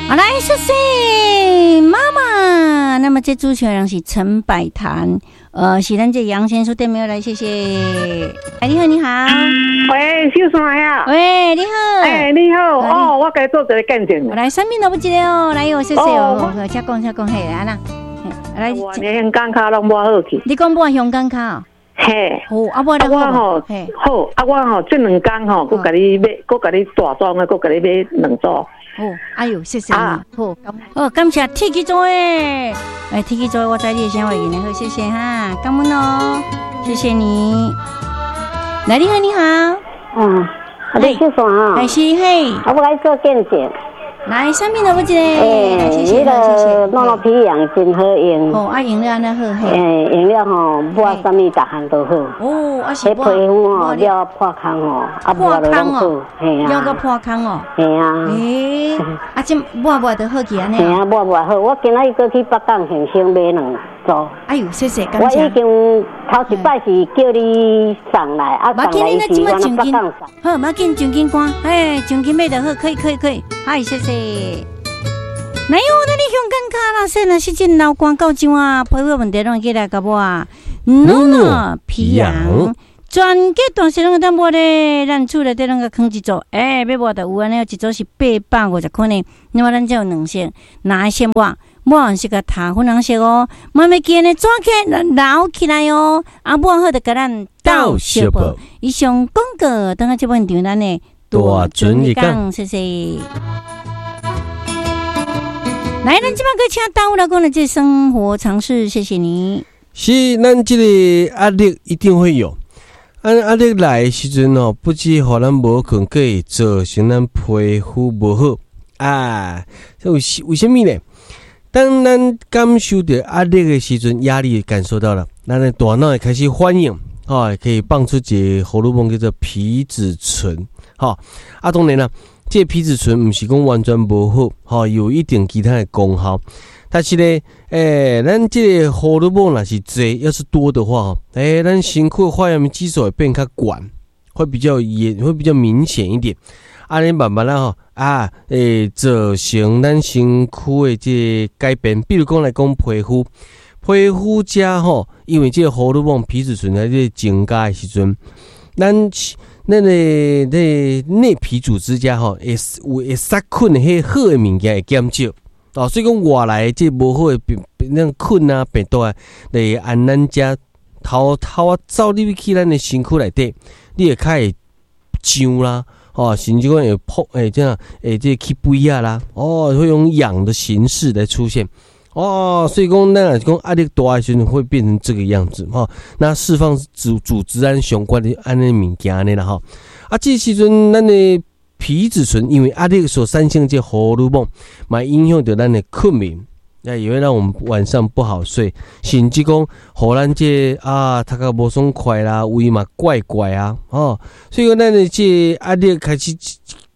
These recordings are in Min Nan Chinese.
好來，謝謝媽媽。那麼這主持人是陳百潭，是咱這楊先生對面來，謝謝。哎，你好，你好。喂，秀山呀。喂，你好。哎，你好。哦，我共你做一个見證。來，啥物都不記得哦，來哦，謝謝哦。請講，請講，嘿，按怎。來，我的胸間跤攏抹好去。你講抹胸間跤？嘿。好，啊，抹我吼，好，啊，我吼，這兩工吼，閣共你買，閣共你大裝的，閣共你買兩組。哦，哎喲，謝謝你。好，好，感謝鐵起做的，哎，鐵起做的，我知你的聲話呢，好，謝謝哈，感恩哦，謝謝你。來，你好，你好。嗯，啊，你秀山啊？哎，是嘿。啊，我來做見證。來，啥物都不記得。欸，彼个諾諾皮揚真好用。哦，啊用了按呢好。欸，用了吼，抹啥物逐項都好。哦，啊是彼皮膚吼了破空吼，啊抹落攏好。嘿啊。了閣破空哦。嘿啊。欸，啊這抹抹就好去按呢。嘿啊，抹抹好。我今仔日閣去北港現場買兩組。哎喲，謝謝，感謝。我已經頭一擺是叫你送來，啊送來是我那北港送。好，無要緊，上緊趕，哎，上緊買就好，可以，可以，可以。嗨，謝謝。來喲，咱的香港跤啦，說若是真流汗夠上啊，皮膚問題攏會過來共抹。努諾皮揚，全家大細攏會當抹咧，咱厝內底攏共囥一組，欸，欲抹就有按呢，一組是850塊呢。那麼咱這有兩色，哪會先抹？抹完是共塗粉紅色哦，慢慢見呢抓起來留起來哦。啊，抹好就共咱鬥相報。以上廣告，等下這本場咱的大準日講，謝謝。來，咱這擺閣請大武來講的這生活常識，謝謝你。是，咱這個壓力一定會有。啊，壓力來的時陣吼，不止予咱無睏，閣會造成咱皮膚無好啊。這為啥物呢？當咱感受著壓力的時陣，壓力感受到了，咱的大腦會開始反應，吼，可以放出一個荷爾蒙叫做皮質醇，吼。啊，當然啦，這個皮質醇毋是講完全無好，吼，有一定其他的功效。但是呢，欸，咱這個荷爾蒙若是濟，要是多的話，欸，咱身軀發炎激素會變較懸，會比較嚴，會比較明顯一點。啊，你慢慢仔吼，啊，會造成咱身軀的這個改變。比如講來講皮膚，皮膚遮吼，因為這個荷爾蒙皮質醇在這個增加的時陣，咱的這內皮組織遮吼，會有會殺菌的彼好的物件會減少。哦，所以講外來的這無好的病，那菌啊、病毒啊，來按咱遮偷偷仔走入去咱的身軀內底，你會較會脹啦。哦，甚至講會破，會這樣，會這起飛仔啦，哦，會用癢的形式來出現，哦，所以講咱若是講壓力大的時陣會變成這個樣子，吼，那釋放組織胺相關的按呢物件按呢啦，吼，啊，這時陣咱的皮質醇因為壓力所產生這荷爾蒙，嘛影響著咱的睏眠，那也會讓我們晚上不好睡，甚至講，予咱這啊，讀甲無爽快啦，胃嘛怪怪啊，哦，所以講咱的這壓力開始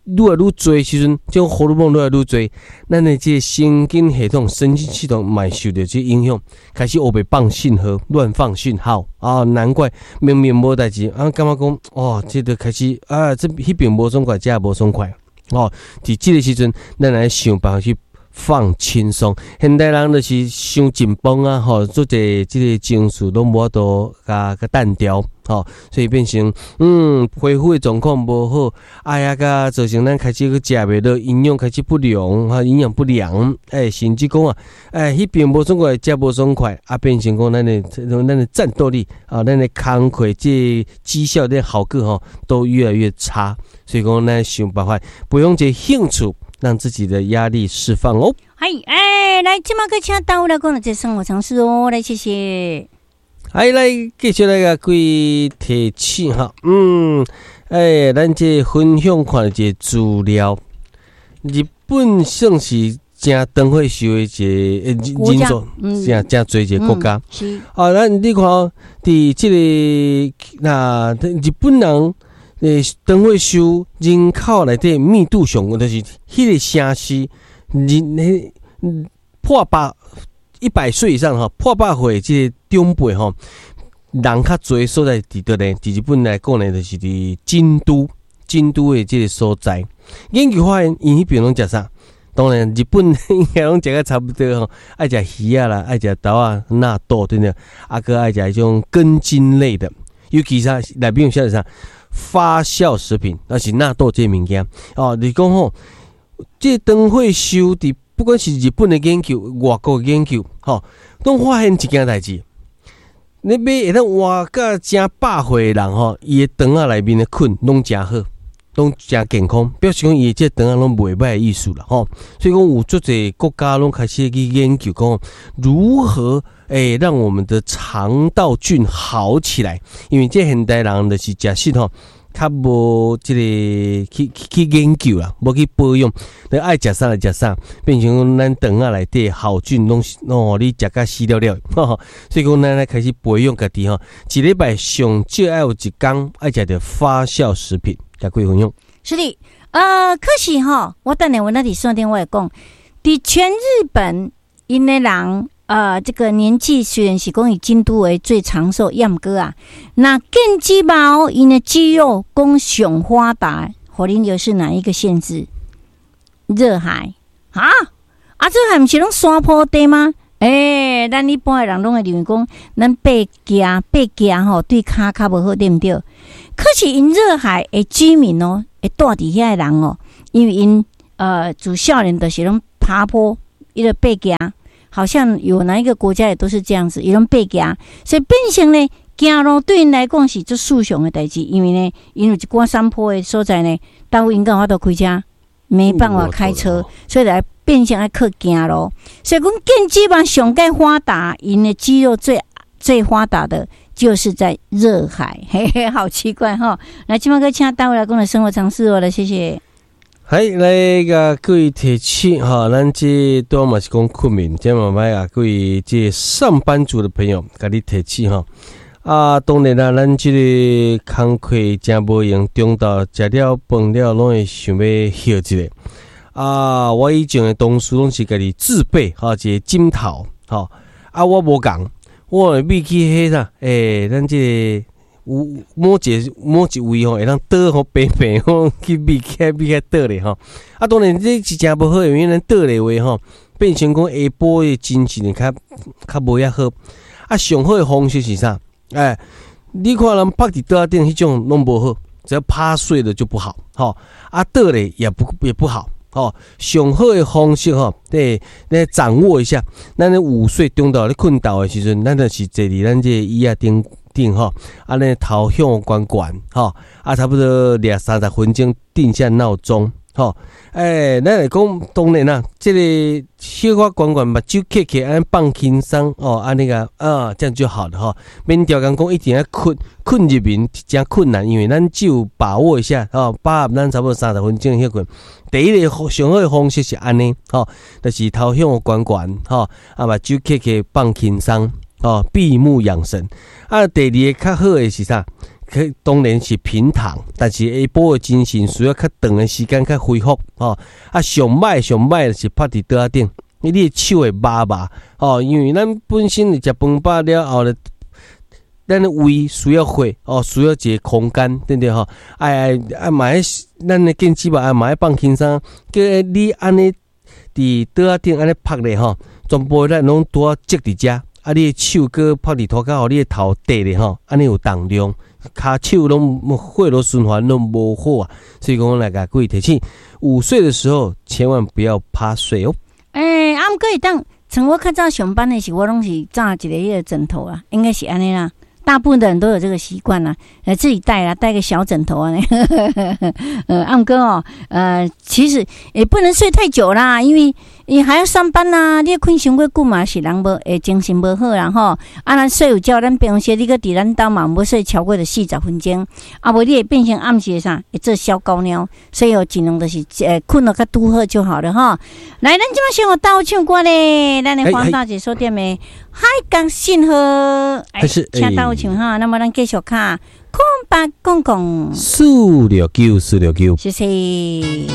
愈來愈濟時陣，這種荷爾蒙愈來愈濟，咱的這神經系統、神經系統嘛受著這影響，開始烏白放信號、亂放訊號啊！難怪明明無代誌，啊，感覺講哦，這就開始啊，這彼邊無爽快，這無爽快，哦，佇這個時陣，咱來想辦法去放輕鬆。現代人就是傷緊繃啊，吼，做者這個情緒攏無法度共共淡掉，吼，所以變成皮膚的狀況無好，哎呀，共造成咱開始去食袂落，營養開始不良，哈，營養不良，欸，甚至講啊，欸，彼邊無爽快，這無爽快，啊，變成講咱的戰鬥力啊，咱的工課這績效的效果吼，都越來越差。所以講，咱想辦法培養一個興趣，讓自己的壓力釋放哦。嗨，哎，來，這馬閣請大武來講的這生活常識哦，來，謝謝。哎，來繼續來共各位提醒哈，欸，咱這分享看一個資料，日本算是誠長歲壽的一個人數，誠誠濟一個國家。是。啊，咱你看，佇這個那日本人欸，長歲壽人口內底密度上懸，就是彼個城市人彼破百100歲以上吼，破百歲這個長輩吼，人較濟所在佇佗呢？佇日本來講呢，就是佇京都，京都的這個所在。研究發現，𪜶彼邊攏食啥？當然，日本應該攏食甲差不多吼，愛食魚仔啦，愛食豆仔、納豆對不對？啊，閣愛食彼種根莖類的，尤其啥內面有寫啥發酵食品，那是納豆這个物件哦。你講吼，這腸血修佇不管是日本的研究、外國的研究，吼，攏發現一件代誌。你欲會當活甲誠百歲的人吼，伊的腸仔內面的菌攏誠好，攏誠健康，表示講伊這腸仔攏袂歹的意思啦吼。所以講有足濟國家攏開始去研究講如何讓我們的腸道菌好起來，因為這現代人就是食食吼，較無這個去研究啦，無去保養，你愛食啥就食啥，變成講咱腸仔內底好菌攏攏予你食甲死了了，所以講咱來開始培養家己吼，一禮拜上少愛有一工愛食著發酵食品，共各位分享。是的，可是吼，我等下我那佇線頂我會講，佇全日本𪜶的人，這個年紀雖然是講以京都為最長壽，也毋過啊，若腱肌肉𪜶的肌肉講上發達，予恁又是哪一個縣市？熱海啊？啊，熱海毋是攏山坡地嗎？咱一般的人攏會認為講，咱爬行爬行吼，對跤較無好，對毋對？可是𪜶熱海的居民哦，會住佇遐的人哦，因為𪜶自少年就是攏爬坡，伊就爬行。好像有哪一個國家也都是這樣子，伊攏爬行，所以變成呢，行路對𪜶來講是足順暢的代誌，因為呢，𪜶有一寡山坡的所在呢，大部分𪜶敢有法度開車，沒辦法開車，所以來變成愛靠行路。所以講腱肌肉上蓋發達，𪜶的肌肉最最發達的，就是在熱海，嘿嘿，好奇怪哈！來，這馬閣請大衛來講的生活常識哦，來，謝謝。係來共各位提醒哈，咱這拄嘛是講睏眠，這嘛欲共各位這上班族的朋友，共你提醒哈。啊，當然啦，咱這個工課誠無閒，中晝食了飯了，攏會想欲歇一下。啊，我以前的同事攏是家己自備哈，一個枕頭吼。啊，我無仝，我會秘去彼啥？咱這個有某一個某一位吼，會當倒予平平吼，去秘起來秘起來倒咧吼。啊，當然這是誠無好，因為咱倒咧話吼，變成講下晡的精神較較無遐好。啊，上好的方式是啥？你看人趴佇桌仔頂彼種攏無好，只要趴睡的就不好，吼。啊，倒咧也不好，吼。上好的方式吼，對，來掌握一下。咱咧午睡中晝咧睏晝的時陣，咱就是坐佇咱這個椅仔頂頂吼，按呢頭向懸懸吼，啊，差不多掠30分鐘，定下鬧鐘，吼。咱來講當然啦，這個小可懸懸目睭瞌瞌，按呢放輕鬆哦，按呢個啊，這樣就好了吼。免刁工講一定愛睏睏入眠誠困難，因為咱只有把握一下吼，把握咱差不多三十分鐘歇睏。第一個上好的方式是按呢，吼，就是頭向懸懸吼，啊目睭瞌瞌放輕鬆，吼，閉目養神。啊，第二個較好的是啥？可當然是平躺，但是下晡的精神需要較長的時間較恢復，吼。啊，上歹上歹就是趴佇桌仔頂，你的手會麻麻，吼，因為咱本身食飯飽了後咧，咱的胃需要血，哦，需要一個空間，對毋對吼？愛愛啊嘛愛，咱的腱肌肉啊嘛愛放輕鬆，叫你按呢佇桌仔頂按呢趴咧吼，全部咱攏拄仔積佇遮，啊，你的手閣趴佇塗跤，予你的頭綴咧吼，按呢有重量。跤手攏血流循環攏無好啊，所以講來共各位提醒，午睡的時候千萬不要趴睡哦。啊，毋過會當，像我較早上班的時，我攏是罩一个彼個枕頭啊，應該是按呢啦。大部分的人都有這個習慣啦，自己帶啦，帶個小枕頭啊。啊毋過哦，其實也不能睡太久啦，因為你還要上班呐，你睏傷過久嘛是人無會精神無好啦吼。啊，咱睡午覺，咱平常時你閣佇咱兜嘛，無睡超過著40分鐘，啊無你會變成暗時的啥，會做小高尿，所以哦，盡量就是睏得較拄好就好了吼。來，咱這馬先予鬥唱歌咧，咱的黃大姐所點的《海角信號》，請鬥唱哈。那麼咱繼續卡空八公公469469，謝謝。